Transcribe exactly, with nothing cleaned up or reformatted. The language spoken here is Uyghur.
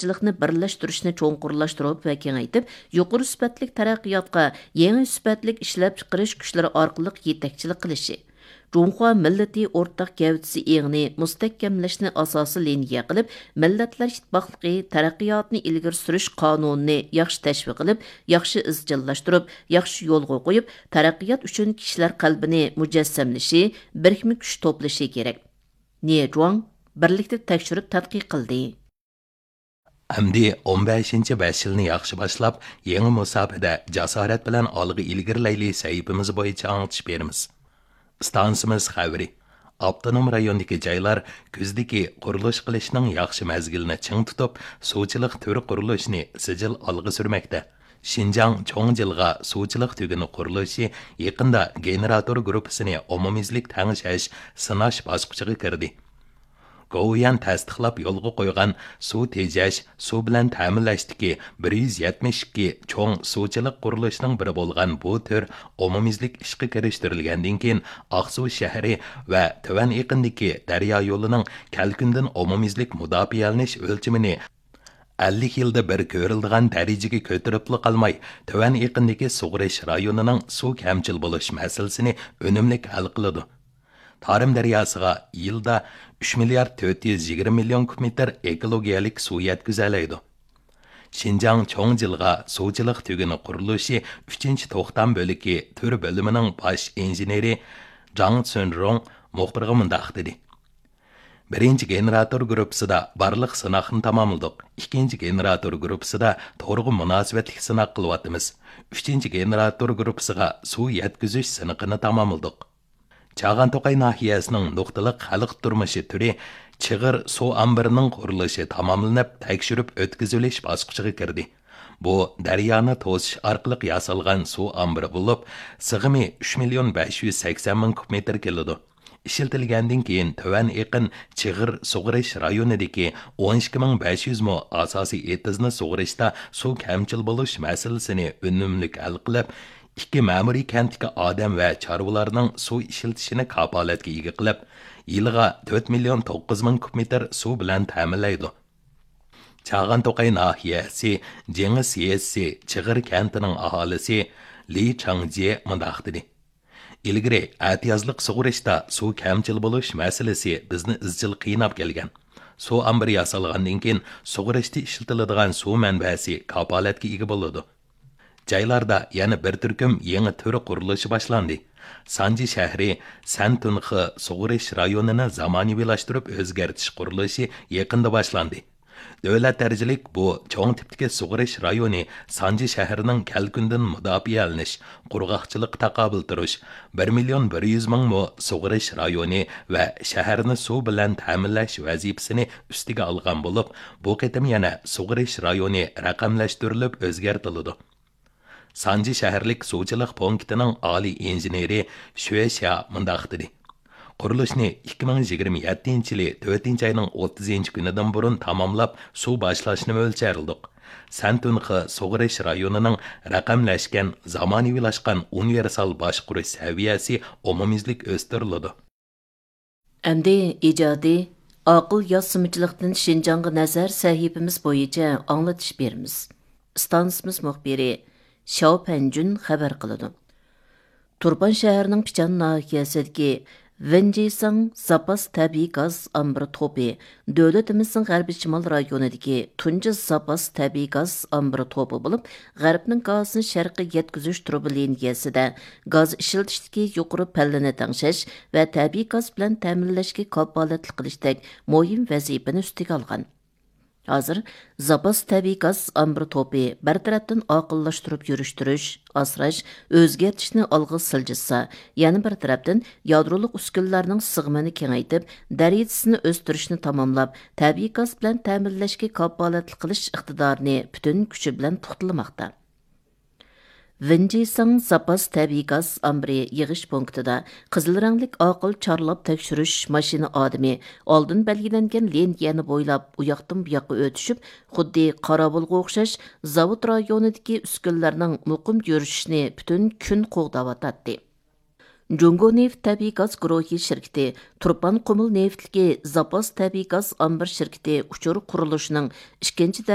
چىلىقنى بىرلەشتۈرۈشنى چوڭقۇرلاشتۇرۇپ ۋە كېڭەيتىپ، يۇقىرى سۈپەتلىك تەرەققىياتقا يېڭى سۈپەتلىك ئىشلەپچىقىرىش كۈچلىرى ئارقىلىق يېتەكچىلىك قىلىشى، جۇڭخۇا مىللىتى ئورتاق گەۋدىسى ئېڭىنى مۇستەھكەملەشنى ئاساسىي لىنىيە قىلىپ، مىللەتلەر ئىتتىپاقلىقى تەرەققىياتنى ئىلگىرى سۈرۈش قانۇنىنى ياخشى تەشۋىق قىلىپ، ياخشى ئىزچىللاشتۇرۇپ، ياخشى يولغا قويۇپ، تەرەققىيات ئۈچۈن كىشىلەر قەلبىنى مۇجەسسەملىشى، بىرىكمە كۈچ توپلىشى كېرەك. نى جۇاڭ بىرلىكتە تەكشۈرۈپ تەتقىق قىلدى. ئەمدى ئون بەشىنچى بەش يىلنى ياخشى باشلاپ، يېڭى مۇساپىدە جاسارەت بىلەن ئالغا ئىلگىرىلەيلى سەھىپىمىز بويىچە ئاڭلىتىش بېرىمىز. ئىستانسىمىز خەۋىرى. ئاپتونوم رايوندىكى جايلار كۈزدىكى قۇرۇلۇش قىلىشنىڭ ياخشى مەزگىلىنى چىڭ تۇتۇپ، سۇچىلىق تۈر قۇرۇلۇشىنى سىجىل ئالغا سۈرمەكتە. شىنجاڭ چوڭ جىلغا سۇچىلىق تۈگۈنى قۇرۇلۇشى يېقىندا گېنېراتور گۇرۇپپىسىنى ئومۇميۈزلۈك تەڭشەش، سىناش باسقۇچىغا كىردى. گوۋۇيۈەن تەستىقلاپ يولغا قويغان سۇ تېجەش، سۇ بىلەن تەمىنلەشتىكى بىر يۈز يەتمىش ئىككى چوڭ سۇچىلىق قۇرۇلۇشىنىڭ بىرى بولغان بۇ تۈر ئومۇميۈزلۈك ئىشقا كىرىشتۈرۈلگەندىن كېيىن، ئاقسۇ شەھىرى ۋە تۆۋەن ئېقىندىكى دەريا يولىنىڭ كەلكۈندىن ئومۇميۈزلۈك مۇداپىئەلىنىش ئۆلچىمىنى ئەللىك يىلدا بىر كۆرۈلىدىغان دەرىجىگە كۆتۈرۈپلا قالماي، تۆۋەن ئېقىندىكى سۇغىرىش رايونىنىڭ سۇ كەمچىل بولۇش مەسىلىسىنى ئۈنۈملۈك ھەل قىلىدۇ. تارىم دەرياسىغا يىلدا ئۈچ مىليارد تۆت يۈز يىگىرمە مىليون كۇب مېتىر ئېكولوگىيەلىك سۇ يەتكۈزەلەيدۇ. شىنجاڭ چوڭ جىلغا سۇچىلىق تۈگۈنى قۇرۇلۇشى ئۈچىنچى توختام بۆلىكى تۈر بۆلۈمىنىڭ باش ئىنژېنېرى جاڭ سۈنرۇڭ مۇخبىرغا مۇنداق دېدى: بىرىنچى گېنېراتور گۇرۇپپىسىدا بارلىق سىناقنى تاماملىدۇق. ئىككىنچى گېنېراتور گۇرۇپپىسىدا تورغا مۇناسىۋەتلىك سىناق قىلىۋاتىمىز. ئۈچىنچى گېنېراتور گۇرۇپپىسىغا سۇ يەتكۈزۈش سىنىقىنى تاماملىدۇق. چاغان توقاي ناھىيەسىنىڭ نۇقتىلىق خەلق تۇرمۇشى تۈرى چىغىر سۇ ئامبىرىنىڭ قۇرۇلۇشى تاماملىنىپ، تەكشۈرۈپ ئۆتكۈزۈۋېلىش باسقۇچىغا كىردى. بۇ دەريانى توسۇش ئارقىلىق ياسالغان سۇ ئامبىرى بولۇپ، سىغىمى ئۈچ مىليون بەش يۈز سەكسەن مىڭ كۇب مېتىر كېلىدۇ. ئىشلىتىلگەندىن كېيىن، تۆۋەن ئېقىن چىغىر سۇغىرىش رايونىدىكى ئون ئىككى مىڭ بەش يۈز مو ئاساسىي ئېتىزنى سۇغىرىشتا سۇ كەمچىل بولۇش مەسىلىسىنى ئۈنۈملۈك ھەل قىلىپ، ئىككى مەمۇرىي كەنتتىكى ئادەم ۋە چارۋىلارنىڭ سۇ ئىشلىتىشىنى كاپالەتكە ئىگە قىلىپ، يىلىغا تۆت مىليون توققۇز مىڭ كۇب مېتىر سۇ بىلەن تەمىنلەيدۇ. چاغان توقاي ناھىيەسى جېڭىس يېزىسى چىغىر كەنتىنىڭ ئاھالىسى لى چاڭجيې مۇنداق دېدى: ئىلگىرى ئەتىيازلىق سۇغىرىشتا سۇ كەمچىل بولۇش مەسىلىسى بىزنى ئىزچىل قىيناپ كەلگەن. سۇ ئامبىرى ياسالغاندىن كېيىن، سۇغىرىشتا ئىشلىتىلىدىغان سۇ مەنبەسى كاپالەتكە ئىگە بولىدۇ. جايلاردا يەنە بىر تۈركۈم يېڭى تۈر قۇرۇلۇشى باشلاندى. سانجى شەھىرى سەنتۇنخې سۇغىرىش رايونىنى زامانىۋىلاشتۇرۇپ ئۆزگەرتىش قۇرۇلۇشى يېقىندا باشلاندى. دۆلەت دەرىجىلىك بۇ چوڭ تىپتىكى سۇغىرىش رايونى سانجى شەھىرىنىڭ كەلكۈندىن مۇداپىئەلىنىش، قۇرغاقچىلىققا تاقابىل تۇرۇش، بىر مىليون بىر يۈز مىڭ مو سۇغىرىش رايونى ۋە شەھەرنى سۇ بىلەن تەمىنلەش ۋەزىپىسىنى ئۈستىگە ئالغان بولۇپ، بۇ قېتىم يەنە سۇغىرىش رايونى رەقەملەشتۈرۈلۈپ ئۆزگەرتىلىدۇ. سانجى شەھەرلىك سۇچىلىق پونكىتىنىڭ ئالىي ئىنژېنېرى شۈې شيا مۇنداق دېدى: قۇرۇلۇشنى ئىككى مىڭ يىگىرمە يەتتىنچى يىلى تۆتىنچى ئاينىڭ ئوتتۇزىنچى كۈنىدىن بۇرۇن تاماملاپ، سۇ باشلاشنى مۆلچەرلىدۇق. سەنتۇنخې سۇغىرىش رايونىنىڭ رەقەملەشكەن، زامانىۋىلاشقان ئۇنىۋېرسال باشقۇرۇش سەۋىيەسى ئومۇميۈزلۈك ئۆستۈرۈلىدۇ. ئەمدى ئىجادىي، ئاقىل ياسىمىچىلىقتىن شىنجاڭغا نەزەر سەھىپىمىز بويىچە ئاڭلىتىش بېرىمىز. ئىستانسىمىز مۇخبىرى شياۋ پەنجۈن خەۋەر قىلىدۇ. تۇرپان شەھىرىنىڭ پىچان ناھىيەسىدىكى ۋېنجىساڭ زاپاس تەبىئىي گاز ئامبىرى توپى دۆلىتىمىزنىڭ غەربىي شىمال رايونىدىكى تۇنجى زاپاس تەبىئىي گاز ئامبىرى توپى بولۇپ، غەربنىڭ گازىنى شەرققە يەتكۈزۈش تۇرۇبا لىنىيەسىدە گاز ئىشلىتىشتىكى يۇقىرى پەللىنى تەڭشەش ۋە تەبىئىي گاز بىلەن تەمىنلەشكە كاپالەتلىك قىلىشتەك مۇھىم ۋەزىپىنى ئۈستىگە ئالغان. ھازىر زاپاس تەبىئىي گاز ئامبىرى توپى بىر تەرەپتىن ئاقىللاشتۇرۇپ يۈرۈشتۈرۈش، ئاسراش، ئۆزگەرتىشنى ئالغا سىلجىتسا، يەنە بىر تەرەپتىن يادرولۇق ئۈسكۈنىلەرنىڭ سىغىمىنى كېڭەيتىپ، دەرىجىسىنى ئۆستۈرۈشنى تاماملاپ، تەبىئىي گاز بىلەن تەمىنلەشكە كاپالەتلىك قىلىش ئىقتىدارىنى پۈتۈن كۈچى بىلەن پۇختىلىماقتا. ۋېنجىساڭ زاپاس تەبىئىي گاز ئامبىرى يىغىش پونكىتىدا قىزىل رەڭلىك ئاقىل چارلاپ تەكشۈرۈش ماشىنا ئادىمى ئالدىن بەلگىلەنگەن لىنىيەنى بويلاپ ئۇياقتىن بۇياققا ئۆتۈشۈپ، خۇددى قاراۋۇلغا ئوخشاش زاۋۇت رايونىدىكى ئۈسكۈنىلەرنىڭ مۇقىم يۈرۈشۈشىنى پۈتۈن كۈن قوغداۋاتاتتى. جۇڭگو نېفىت تەبىئىي گاز گۇرۇھى شىركىتى، تۇرپان قۇمۇل نېفىتلىكى زاپاس تەبىئىي گاز ئامبىر شىركىتى ئۇچۇر قۇرۇلۇشىنىڭ ئىككىنچى